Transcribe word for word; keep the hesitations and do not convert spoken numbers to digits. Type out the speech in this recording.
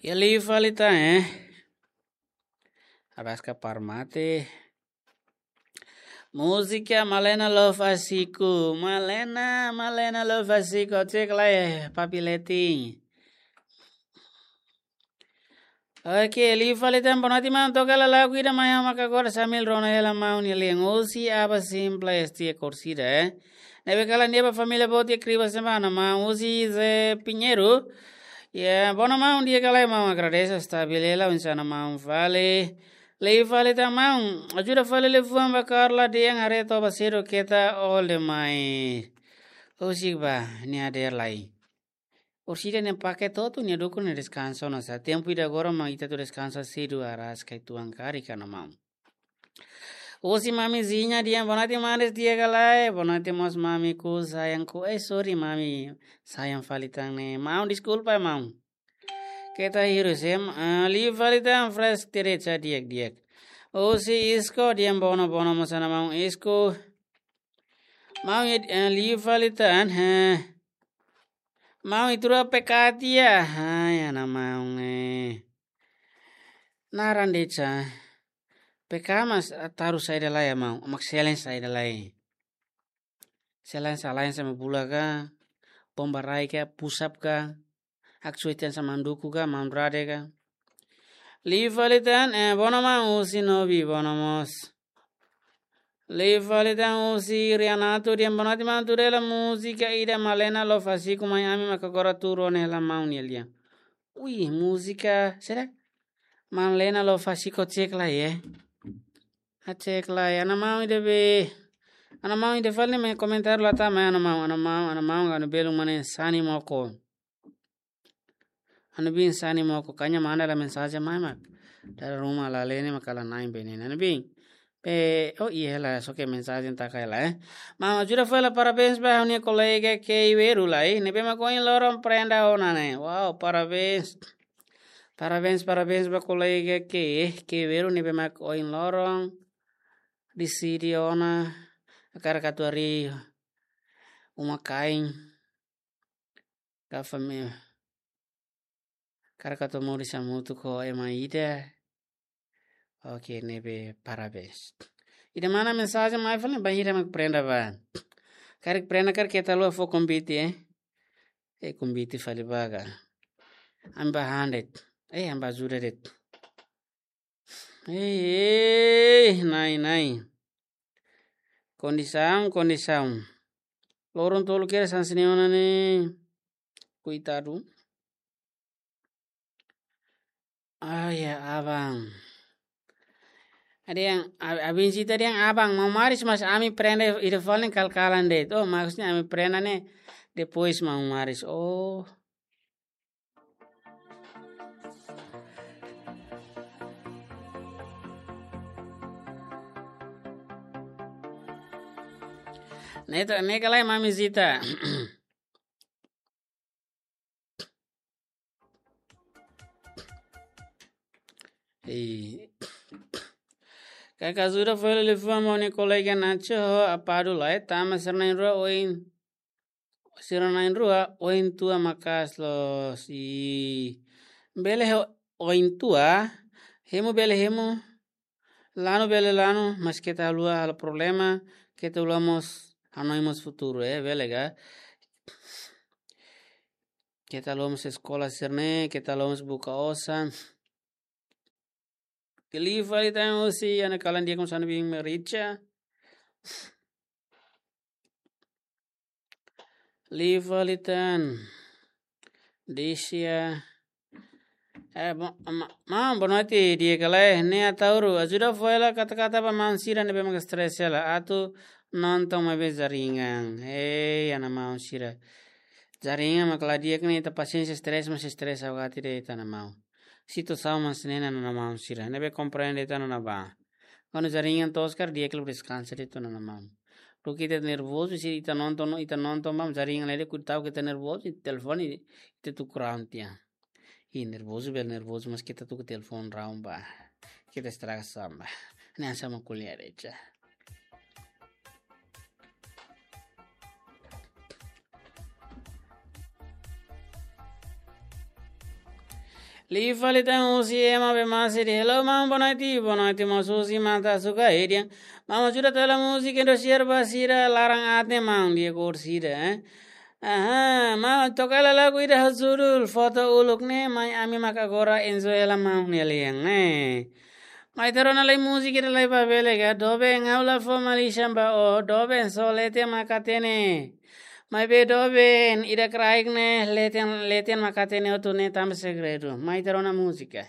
Iha liu fali tan, eh. Araska para mate. Múzika Malena Love Asiku. Malena, Malena Love Asiku. Cek lai, eh, papi letin. Oke, liu fali tan, boa noite, maun. Toka lagu ida mai ha'u maka agora sambil rona hela maun nia lian. Husi Aba Simples, tia Korsida, eh. Ne'ebé kalan di'ak ba família boot iha Kribas ne'ebá, maun. Husi Zé Pinheiro. Ya, boa noite, maun, di'ak ka lae, maun, agradese, stabil hela, oinsá maun fali. Liu fali tan, maun, ajuda fali liafuan ba Carla dehan haree toba sedu keta all the mai. Husik ba, nia hadeer lai. Orsida nia paket hotu, nia dukur nia deskansa ona sá. Tempu ida agora mak ita atu deskansa sedu, araska uitoan karik, maun. Husi Mami Zinha dehan, boa noite maun, di'ak ka lae, boa noite mós mami, ku sayang ku, eh, sorry mami, sayang fali tan ne'e. Maun, deskulpa, maun. Keta hirus, eh, ah, liu fali tan, fresh terecha di'ak-di'ak. Husi Isko dehan, boa noite, boa noite mós maun Isko. Maun, eh, liu fali tan, eh. Maun, ita rua P K tiha. Ai, ana maun, eh. Naran de'it sá. P K mas, ah, taru saida lai, maun. Mak selen saida lai. Selen sá, lain sama bula ka, bomba rai ka, pusap ka, aksuetian sama manduku ka, maun rade ka. Liu fali tan, eh, boa noite maun, husi Nobi, boa noite mós. Liu fali tan husi Rianato dehan, boa noite maun, tuir hela múzika ida Malena Love Asiku mai ami maka agora tuur ona hela maun nia lian. Ui, múzika, será? Malena Love Asiku, cek lai, eh. Ah, cek lai, ana maun ida be. Ana maun ida fali ne'e mai komentar la tama, ana maun, ana maun, ana maun, anu belun mane sani moko. Anu bin sani moko, kanya manda la mensajen mai mak. Dala ruma la lene mak la na'in bene. Anu bin. Pe, oh iya la, soke mensajen taka la, eh. Maun, ajuda fali la parabéns ba ha'u-nia kolega Kei Weru lai, ne'ebé mak ohin loron prenda ona ne'e. Wow, parabéns. Parabéns, parabéns ba kolega Kei, eh, Kei Weru ne'ebé mak ohin loron deside ona hakarak atu harii uma-kain ka família. Hakarak atu moris hamutuk ho ema ida. Oke, ne'ebé parabéns. Ida mana mensajen mai fali, bainhira mak prenda ba. Karik prenda karik keta haluha fó konvite, eh. Eh, konvite fali ba ka. Ami bá han de'it. Eh, ami bá ajuda de'it. Ei, ei, nai, nai. Kondisaun, kondisaun. Loron tolu kedas hanesan ne'e ona ne'e. Koitadu. Ah, ya, abang. Ada yang, a-, abin sita ada yang abang, maun Maris mas ami prenda ida fali ne'e kal-kalan de'it. Oh, maksudnya ami prenda ne'e depois maun Maris. Oh. Neto, ne'e ka lae Mami Zita. Ei. Kaka ajuda fali liafuan ba ha'u-nia kolega Nacho ho Apadu lai, tama sira na'in-rua oin. Sira na'in-rua oin tua maka'as loos. I bele ho oin tua, hemu bele hemu, lanu bele lanu, mas keta haluha halo problema, keta haluha mós hanoin mós futuru, eh, bele ka? Keta haluha mós eskola sira-ne'e, keta haluha mós buka osan. Liu fali tan husi, ana kalan dia konsana bin merica. Liu fali tan. Disia. Eh, bo-, ma-, maun, boa noite, di'ak ka lae, ne'e Ataúro, ajuda fó hela kata-kata ba maun sira ne'ebé mak stress hela, atu nonton maibé jaringan. Hei, ana maun sira. Jaringan mak la di'ak ne'e, ita pasiénsia stress, mas stress agora tidak ita ana maun. Situasaun mak hanesan ne'e, ana maun sira. Ne'ebé komprende ita-nia ba. Kuandu jaringan toos karik di'ak liu deskansa de'it ona maun. Duké ita nervozu, se ita nonton, ita nonton ba jaringan lele, kuandu ita nervozu, telefone ita tuku raun tiha. I nervozu, bele nervozu, mas keta tuku telefone raun ba. Keta estraga samba. Ne'e hanesan mak ko'alia de'it. Liu fali tan husi ema be masih di hello, maun, boa noite, boa noite, maun, husi mata suka edian. Maun, ajuda tela múzika Indo share ba sira laran aat ne'e, maun, di ekor sira, eh. Aha, maun, toka hela lagu ida ho judul Foto Uluk ne'e, mai ami maka agora enjoy hela, maun, nia lian, eh. Mai ita rona lai múzika ida lai ba bele ka, doben ha'u la fó malisan ba ó, doben só leten maka hatene. Maibé doben ida kraik ne'e, leten, leten maka hatene hotu ne'e tanba segredu. Mai ita rona múzika.